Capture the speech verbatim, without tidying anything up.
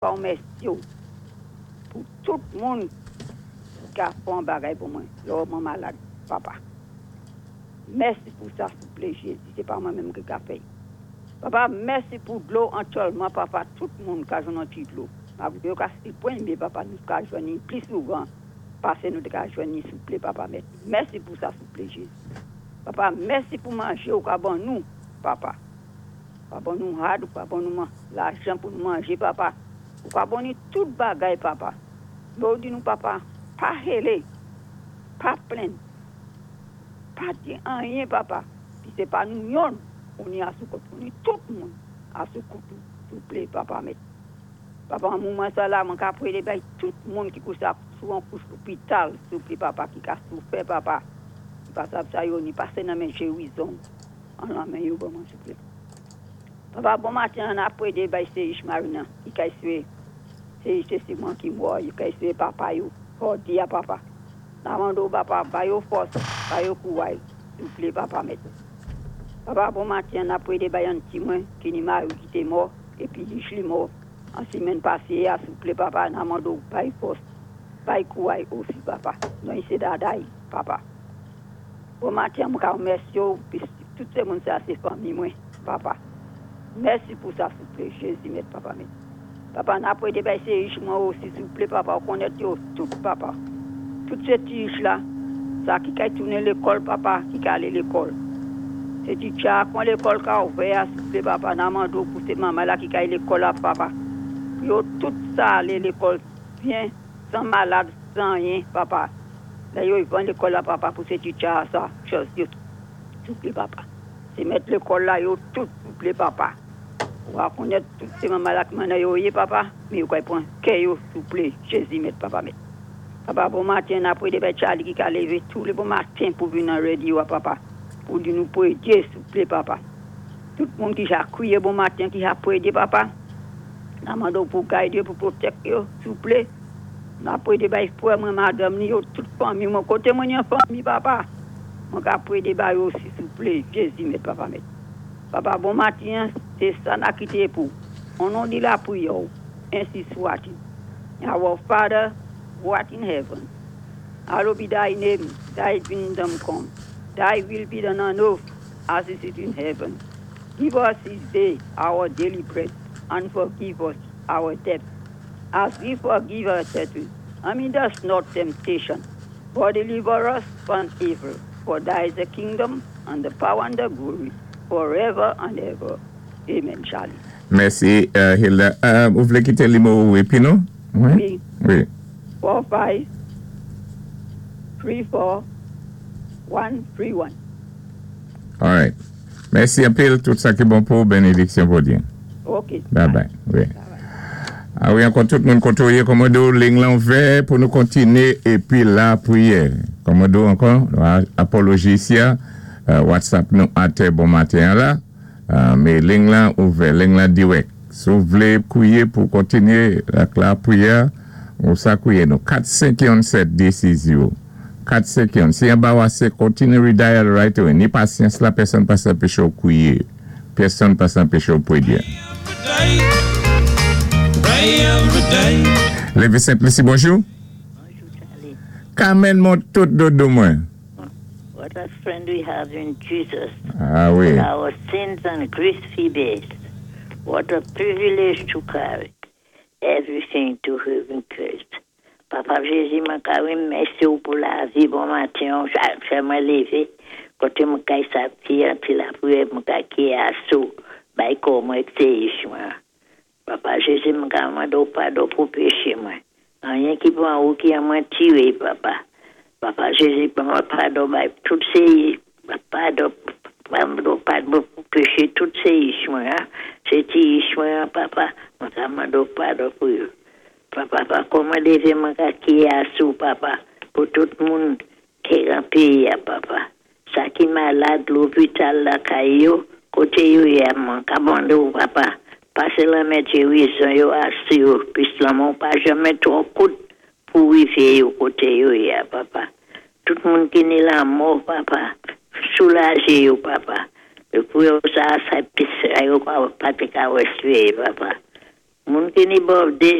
Ka mèsi pou tout moun ki a fè yon bagay pou mwen. Lò mwen malad, papa. Mèsi pou sa, souplé, Jézi. Sé pa mwen menm ki ka fè. Papa, mèsi pou dlo aktyèlman, papa. Tout moun ka jwenn yon ti dlo. Yo ka si pwen, mé papa, nou ka jwenn pli souvan. Pasé nou ka jwenn, souplé, papa. Mèsi pou sa, souplé, Jézi. Papa, mèsi pou manjé ou ka ban nou, papa. Ka ban nou rad, ou ka ban nou lajan pou nou manjé, papa. Ou ka ban nou tout bagay, papa. Mé ou di nou, papa, pa hélé, pa plenn, pa di anyen, papa. Pi sé pa nou yonn, ou ni asou kont, ou ni tout moun asou kont, souplé, papa, mèt. Papa, an mouman sa la, mwen ka pwédé bay tout moun ki kouché sou an kouch lopital, souplé, papa, ki ka soufè, papa. Ki pa sav sa yo, ni pasé nan men gérizon, an lan men yo, ban mwen, souplé. Papa, bon maten, an a pwédé bay sé Marina, ki kay swé, sé sé Simon ki mò, ki kay swé papa yo, fò di a papa. N a mando papa, ba yo fòs, ba yo kouway, souplé, papa, mèt. Papa, bon maten, an a pwédé bay an ti mwen, ki ni mari ki té mò, épi li mò, an simenn pasé, a souplé, papa, n a mando bay fòs, bay kouway osi, papa. Non, sé daday, papa. Bon maten, mwen ka mèsi yo, pi tout sé moun sa sé fanmi mwen, papa. Mèsi pou sa, souplé, Jézi, mèt, papa, mèt. Papa, n a pwédé bay sé ich mwen osi, souplé, papa, ou konnèt yo tout, papa. Tout sé ti ich la, sa ki kay tounen lékòl, papa, ki ka alé lékòl. Sé ti tcha kon lékòl ka ouvè, souplé, papa, n a mando pou sé manman la ki kay lékòl la, papa. Yo tout sa alé lékòl byen, san malad, san anyen, papa. La yo van lékòl la, papa, pou sé ti tcha sa, chòz yo, souplé, papa. Sé mèt lékòl la, yo tout, souplé, papa. Ou a konnèt tout sé manman la ki mannan yo yé, papa, mé yo kay pwan kè yo, souplé, Jézi, mèt, papa, mèt. Papa, bon maten, n a pwédé bay Charlie ki ka lévé tou lé bon maten pou vin nan radio, papa. Pou di nou pwédé, souplé, papa. Tout moun ki ja kwiyé bon maten, ki ja pwédé, papa. N a mando pou gidé, pou pwotèk yo, souplé. N a pwédé bay frè mwen, madanm ni yo, tout fanmi mwen, koté mwen yon fanmi, papa. Mwen ka pwédé bay osi, souplé, Jézi, mèt, papa, mèt. Papa, bon maten, sé sa n a kité pou. O non di lapriyè, ensi swat-il. Our Father, who art in heaven, hallowed be thy name, thy kingdom come, thy will be done on earth as it is in heaven. Give us this day our daily bread, and forgive us our debts, as we forgive our debtors. And lead us not temptation, but deliver us from evil. For thine is the kingdom, and the power, and the glory, forever and ever. Amen, Charlie. Mèsi, euh, Hilda. Euh, ou vlé kité nimewo épi nou? Wi. Wi. Wi. Four, five, three, four, one, three, one. All right. Mèsi anpil, tout sa ki bon pou bénédiksyon Bondyé. OK. Bye bye. Wi. Bye bye. A wi, ankò tout moun koté ou yé, kòmando liy lan ouvè pou nou kontiné épi lapriyè. Kòmando ankò, apoloji isi, euh, WhatsApp nou atè bon maten la, euh, mé liy lan ouvè, liy lan dirèk. Si ou vlé kwiyé pou kontiné ak lapriyè, ou sa kwiyé nou. kat senk sèt de sis zewo. kat senk en. Si yon ba wase kontiné redial right away. Ni pasyans la, pèsonn pa anpéché ou kwiyé. Pèsonn pa anpéché ou pwédé. Pray every day. Lévi Saint-Lucie, bonjou. Bonjou, Charlie. Carmen, mon tout dodo mwen. What a friend we have in Jesus. A wi. Our sins and griefs he bears. What a privilege to carry everything to him in Christ. Papa Jézi, mwen ka wimèsi ou pou lavi bon maten, fè mwen lévé. Koté mwen kay sa pi anti lapriyè, mwen ka ki asou, bay kò mwen sé ich mwen. Papa Jézi, mwen ka mando padon pou péché mwen. Anyen ki pwan ou ki an mwen tiré, papa. Papa Jézi, mwen padon bay tout sé padon, padon, padon pou péché tout sé ich mwen. Hein? Sé ti ich mwen, papa, mwen ka mando padon pou yo. Papa, papa, kòman lévé mwen ka ki asou, papa, pou tout moun ki nan péyi, papa. Sa ki malad, lopital la kay yo, koté yo yé, mwen ka mando, papa. Pasé lamen gérizon yo asou yo, pis lanmen pa janmè twò kout pou wivé yo koté yo yé, papa. Tout moun ki ni lanmò, papa, soulajé yo, papa. Pou yo sa, sa pis yo pa pa té ka respiré, papa. Moun ki ni birthday.